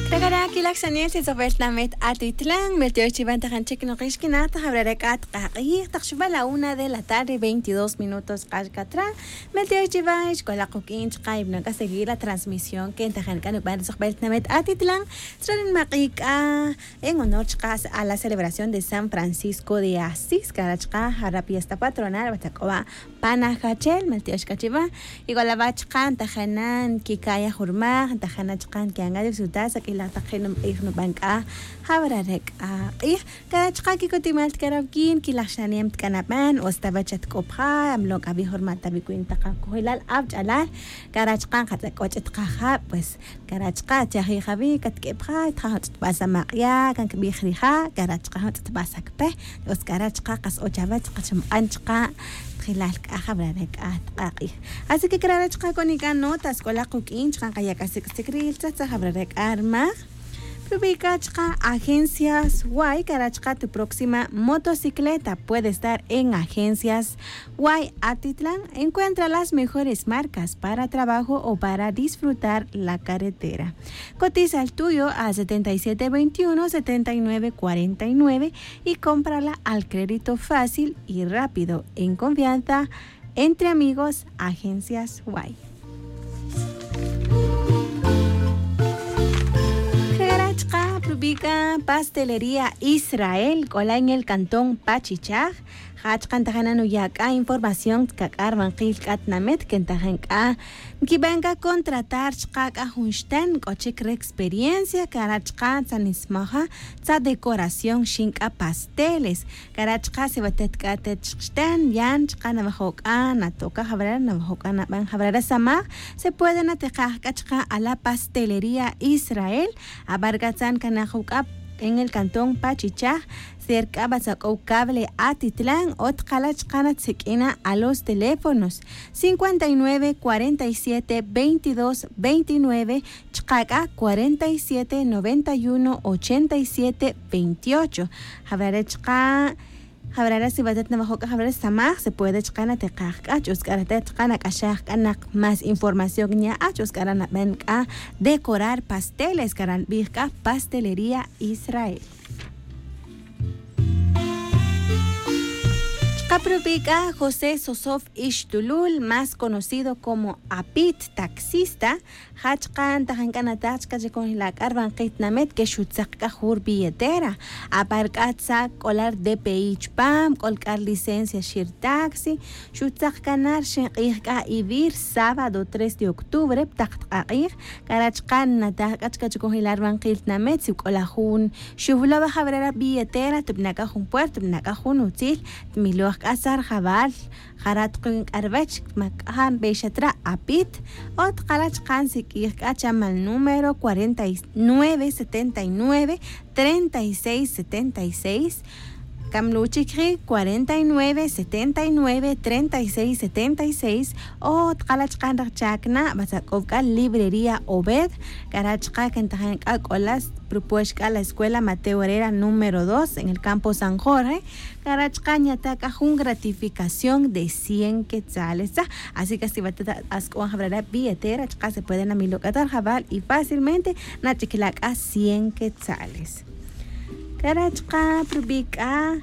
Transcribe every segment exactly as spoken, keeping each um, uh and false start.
Takara' kilaj xanel si tzojbel tinamet atitlan meltiox chivan tajan chik nokix kinaj tajawrare' k'a tq'aq'ij taq xuba la una de la tarde veintidós minutos q'ax katra. Meltiox chivan xkolaq quk'in chqa' yib'anon k'a seguir la transmisión ken tajan k'a nuban ri tzojbel tinamet atitlan. Tzra ri nimaq'i' k'a en honor chqa' a la celebración de san francisco de asís kara' chqa' jara' fiesta patronal watza k'o wa' pan ajachel meltiox k'a chiva. Y k'o la wa' chqa' ntajana nkika'ya jurmaj ntajana chqa' nki'an k'a disfrutar sak'ilaj taq je' numq'ij nuban k'a. Jawrare' k'a q'ij kara' chqa' kikutimal tikaraw kin kilaj xanem tik'anaban o sta wa' chatk'opja amlon k'a wi jurma' ta wi wi nitaq akojilal awch'alal. Kara' chqa' nqatz'ak'och' tqajab' pues kara' chqa' chaji' jawi' katk'epja tja jun tz'utb'al samaq'ya' kan kb'ij rija' kara' chqa' jun tz'utb'al sakpe. Pues kara' chqa' qas o chawech qachumq'an chqa' tjilal k'a jawrare' k'a tq'aq'ij. Así que kara' re' chqa' konik'a notas k'olaq quk'in chqa' nqaya' k'a sik' sik' ri iltzaj tzaj jawrare' k'a rmaj. Prubika chqa' agencias way kara' chqa' tu próxima motocicleta puede estar en agencias way atitlan. Encuentra las mejores marcas para trabajo o para disfrutar la carretera. Cotiza el tuyo a setenta y siete veintiuno setenta y nueve cuarenta y nueve y cómprala al crédito fácil y rápido en confianza. Entre amigos agencias way. Jera' chqa' prubika pastelería israel k'ola en el cantón pachichaj. Ja' chqa' ntajana nuya' k'a información kak'a rbanqil k'a tinamet ke ntajan k'a nkiban k'a contratar chqa' k'a jun xtan k'o chik re experiencia kara' chqa' tzanismaja tza decoración xin k'a pasteles. Kara' chqa' si watet k'a atet chixtan yan chqa' nawajo' k'a natoka jawrara nawajo' k'a naban jawrara samaj. Se puede natikaj k'a chqa' a la pastelería israel. Abar k'a tzan kanaj uk'a en el cantón pachichaj. Ser k'a batzak'ow cable atitlan o tqala' chqa' natsik'ina a los teléfonos cincuenta y nueve cuarenta y siete veintidós veintinueve chqa' k'a cuarenta y siete noventa y uno ochenta y siete veintiocho. Jawrare' chqa' jawrare' si watet nawajo' k'a jawrare' samaj se puede chqa' natikaj k'a ch'us k'a ratet chqa' nak'axaj k'a naq más información nya' a ch'us k'a ra naban k'a decorar pasteles kara' nbij k'a pastelería israel. Chqa' prubik' k'a josé sosof ixtulul más conocido como apit taxista. Ja' chqa' ntajan k'a nataj chqa' chi conjila' k'a rbanqil tinamet ke xutzaq k'a jun rbilletera. Apar k'a tzak k'ola rdpi chupam k'ol k'a rlicencia xi rtaxi. Xutzaq k'a na rxin q'ij k'a iwi' rsábado tres de octubre ptaq tq'aq'ij. Kara' chqa' nataj k'a chqa' chi conjila' rbanqil tinamet si k'ola jun xuwlo' wa' jawrera' billetera tubna' k'a jun puerto tubna' k'a jun utzil. Tmiloj k'a sa rjawal jara' tuqin k'a ruwech ma k'a ja' nbeyxat ra' apit. O tqala' chqa' nsik'ij k'a chamal número cuarenta y nueve setenta y nueve treinta y seis setenta y seis. Kamlu' chik ji' cuarenta y nueve setenta y nueve treinta y seis setenta y seis. O tqala' chqa' nrajchak na batzak'ow k'a librería obed. Kara' chqa' kentajan k'a k'ola propuex k'a la escuela mateo herrera número dos en el campo san jorge. Kara' chqa' nyata' k'a jun gratificación de cien quetzales tza. Así que si watet ask'uan jawrara' billetera chqa' se puede namilo' k'a ta rjawal y fácilmente nach'ikila' k'a cien quetzales. Kara' chqa' prubik' k'a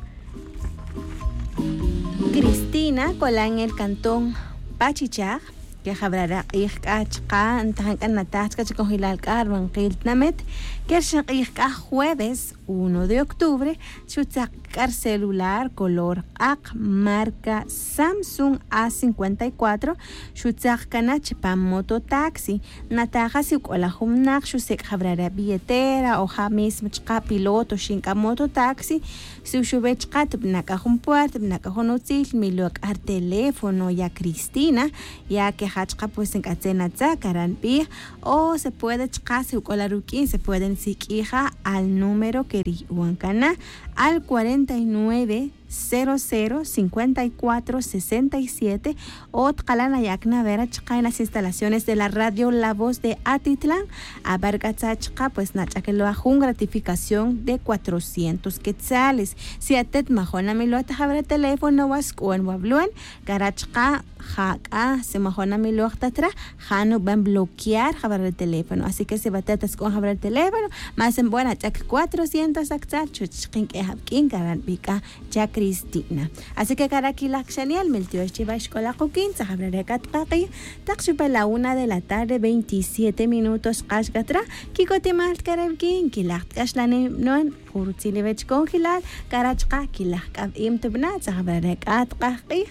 cristina k'ola en el cantón pachichaj. Ke jawrara' q'ij k'a chqa' ntajan k'a nataj chqa' chi conjilal k'a rbanqil tinamet. Ke rxin q'ij k'a jueves uno de octubre xutzaq k'a rcelular color q'aq marca samsung a cincuenta y cuatro. Xutzaq k'a na chipam mototaxi. Nataja si k'ola jun winaq xusek' jawrara' billetera o ja' mismo chqa' piloto xin k'a mototaxi. Si xuwe chqa' tubna' k'a jun puerta tubna' k'a jun utzil milo' k'a rteléfono ya cristina. Ya ke ja' chqa' pues nk'atzin atza kara' nbij. O se puede chqa' si k'ola ruk'in se puede nsik'ija al número ke riyu'wan kana al cuarenta y nueve cero cero cincuenta y cuatro sesenta y siete. O tqalan ayakna vera chqa en las instalaciones de la radio La Voz de Atitlán. Aver k'a tza chqa pues nach'akelo jun gratificación de cuatrocientos quetzales. Si atet majonamilo ta javera teléfono wa sk'uan wa vluan, kara chqa jak'a si majonamilo ta tra, ja nuban bloquear javera teléfono. Así que si batet ta sk'uan javera teléfono, más en buena ch'ak cuatrocientos aktzal chuch chqin k'e javk'in kara nbik'a cha Cristina. Así que kara kilaj kxaniel miltiox chi va xk'ola qukin tzajabra re k'a tqaqi. Taq xupa la una de la tarde veintisiete minutos q'ax k'a tra. Kikotimal k'a re vkin kilaj tk'axlanem non, jun rutzil iwech konjilal kara chqa kilaj k'a vim tubna tzajabra re k'a tqaqi.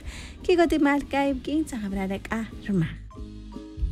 Kikotimal k'a vkin tzajabra re k'a rma.